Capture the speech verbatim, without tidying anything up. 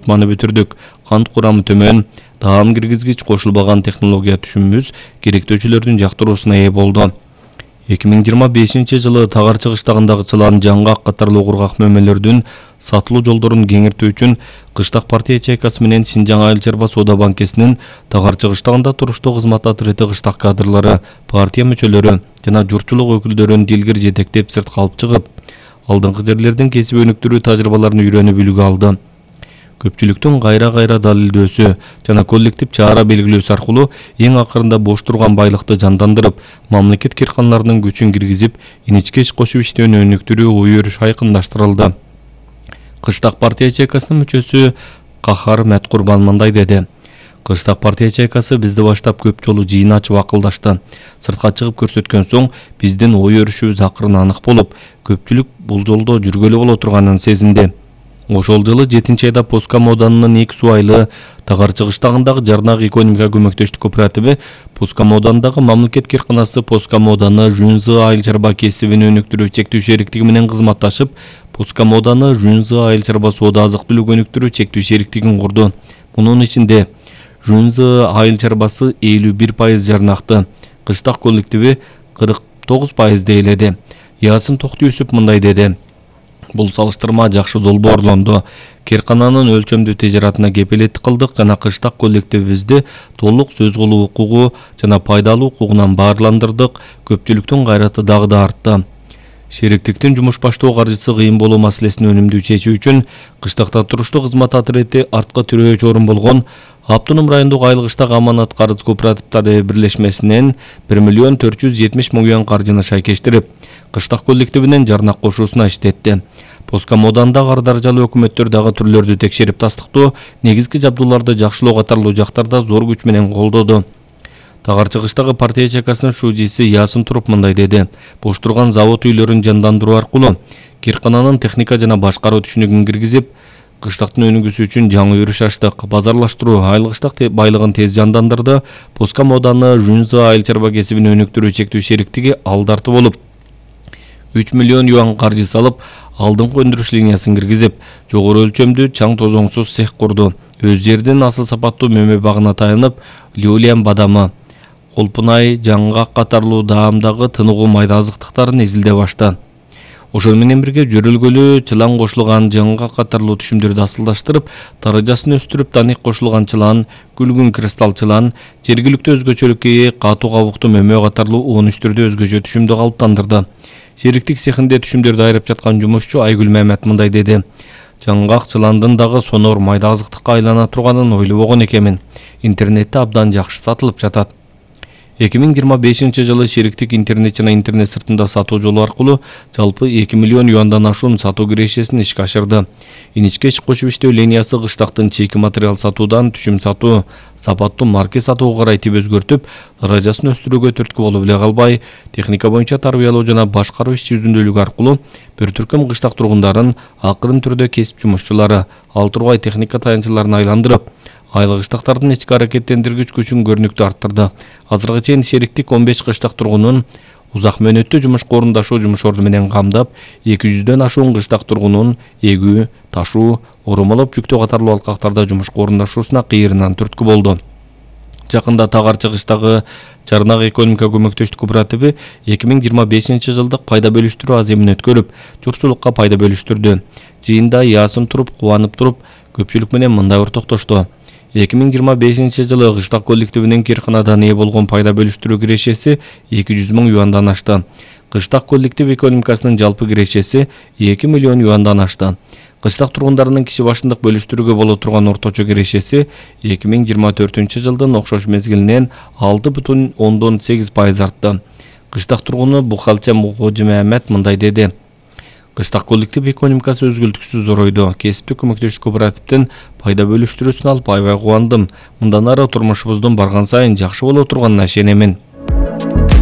жыйырманы бүтүрдүк. Кант курамы төмөн, таам киргизгич кошулбаган технология түшүмүбүз керектөөчүлөрдүн жактыруусуна ээ болду. эки миң жыйырма бешинчи жылы Тагар чыгыштагындагы чылан, жаңгак катарлуу кургак мөмөлөрдүн сатылуу жолдорун кеңиртүү үчүн Кыштак партия ячейкасы менен Шинжаң Айыл чарба соода банкесинин Тагар чыгыштагында туруштуу кызмат ответи кыштак кадрлары, партия мүчөлөрү жана журтчулук өкүлдөрүн дилгир жетектеп сыртка алып чыгып, алдыңкы жерлердин кесип өнүктүрүү тажрыйбаларын үйрөнүп үлгү алды. Көпчүлүктүн кайра-кайра далилдөөсү жана коллектив чара белгилөөсү аркылуу эң акырында бош турган байлыкты жандандырып, мамлекет кирканаларынын күчүн киргизип, иничке иш кошуп иштөөнү өнүктүрүү ой-өрүш айкындаштырылды. Кыштак партия ячейкасынын мүчөсү Кахар Мәткурбан мындай деди: Кыштак партия ячейкасы бизди баштап көп жолу жыйын ачып акылдашты. Сыртка чыгып көрсөткөн соң биздин ой-өрүшүбүз акырын анык болуп, көпчүлүк бул жолдо жүргөлү боло турганын сезинди. Ошол жылы жетинчи айда Поска Моданынын эки субайлы Тагар чыгыштагындагы Жарнак экономика көмөктөштүк кооперативи Поска Моданындагы мамлекет кирканасы Поска Моданы Жүнзы айыл чарба кесибин өнүктүрүү чектүү шериктиги менен кызматташып, Поска Моданы Жүнзы айыл чарба соода азык-түлүк өнүктүрүү чектүү шериктигин курду. Мунун ичинде Жүнзы айыл чарбасы элүү бир пайыз жарнакты, Кыштак коллективи кырк тогуз пайыз дейледи. Ясын Токтуюсуп мындай деди: Бул салыштырма жакшы долбоорлонду. Киркананын өлчөмдүү тижаратына кепилеттик кылдык жана Кыштак коллективибизди толук сөз кылуу укугу жана пайдалуу укугунан баарландырдык. Көпчүлүктүн кайраты дагы да артты. Шериктиктин жумуш баштоо каржысы кыйын болуу маселесин өнүмдүү чечүү үчүн Кыштакта туруштуу кызмат ответи артка тирөөч орун болгон Автоном райондук Айыл кыштак аманат карыз кооперативдери бирлешмесинен бир миллион төрт жүз жетимиш миң юан каржыны шайкештирип, Кыштак коллективинин жарнак кошуусуна иштетти. Поска Модандагы ар даражалуу өкмөттөр дагы түрлөрдү текшерип тастыктоо, негизги жабдууларды жакшылоо катарлуу жактарда зор күч менен колдоду. Тагар чыгыштагы партия ячейкасынын шужиси Ясын Туруп мындай деди: Бош турган завод үйлөрүн жандандыруу аркылуу киркананын техника жана башкаруу түшүнүгүн киргизип, Кыштактын өнүгүүсү үчүн жаңы өрүш ачтык. Базарлаштыруу айыл кыштак байлыгын тез жандандырды. Поска Моданы Жүнзы айыл чарба кесибин өнүктүрүү чектүү шериктиги алдарты болуп, үч миллион юан каржы салып, алдыңкы өндүрүш линиясын киргизип, жогору өлчөмдүү чаң тозоңсуз цех курду. Өз жердин асыл сапаттуу мөмө багына таянып, Леолиан бадамы, колпунай, жаңгак катарлуу даамдагы тыныгуу майда азыктыктарын изилдеп ашты. Ошол менен бирге жөрөлгөлүү чылан кошулган жаңгак катарлуу түшүмдөрдү асылдаштырып, даражасын өстүрүп, таник кошулган чылан, күлгүн кристалл чылан, жергиликтүү өзгөчөлүккө ээ катуу кабуктуу мөмө катарлуу он үч түрдүү өзгөчө түшүмдү калыптандырды. Шериктик цехинде түшүмдөрдү айырып жаткан жумушчу Айгүл Мамет мындай деди: Жаңгак чыландын дагы сонор майда азыктыкка айлана турганын ойлобогон экенмин. Интернетте абдан жакшы сатылып жатат. эки миң жыйырма бешинчи жылы шериктик интернет жана интернет сыртында сатуу жолу аркылуу жалпы эки миллион юандан ашуун сатуу кирешесин ишке ашырды. Иничке иш кошуп иштөө линиясы кыштактын чийки материал сатуудан түшүм сатуу, сапаттуу марке сатууга карай тип өзгөртүп, даражасын өстүрүүгө түрткү болуп эле калбай, техника боюнча тарбиялоо жана башкаруу иш жүзүндөлүгү аркылуу бир түркүм кыштак тургундарын акырын түрдө кесип жумушчулары, ал тургай техника таянчыларын айландырып, айыл кыштактардын ички аракеттендиргич күчүн көрүнүктүү арттырды. Азыркыга чейин шериктик он беш кыштак тургунун узак мөөнөттүү жумушка орундашуу жумуш орду менен камдап, эки жүздөн ашуун кыштак тургунун эгүү, ташуу, оромолоп жүктөө катарлуу алкактарда жумушка орундашуусуна кыйырынан түрткү болду. Жакында Тагар чыгыштагы Жарнак экономика көмөктөштүк кооперативи эки миң жыйырма бешинчи жылдык пайда бөлүштүрүү аземин өткөрүп, журтчулукка пайда бөлүштүрдү. Жыйында Ясын Туруп кубанып туруп, көпчүлүк менен мындай ортоктошту: эки миң жыйырма бешинчи жылы Кыштак коллективинин кирканадан ээ болгон пайда бөлүштүрүү кирешеси эки жүз миң юандан ашты. Кыштак коллектив экономикасынын жалпы кирешеси эки миллион юандан ашты. Кыштак тургундарынын киши башындык бөлүштүрүүгө боло турган орточо кирешеси эки миң жыйырма төртүнчү жылдын окшош мезгилинен алты бүтүн ондон сегиз пайыз артты. Кыштак тургуну Бухалча Мухожи Мамет мындай деди: Кыштак коллектив экономикасы өзгөлтүксүз зоройду. Кесиптик көмөктөштүк кооперативдин пайда бөлүштүрүүсүн алып аябай кубандым. Мындан ары турмушубуздун барган сайын жакшы боло турганына ишенемин.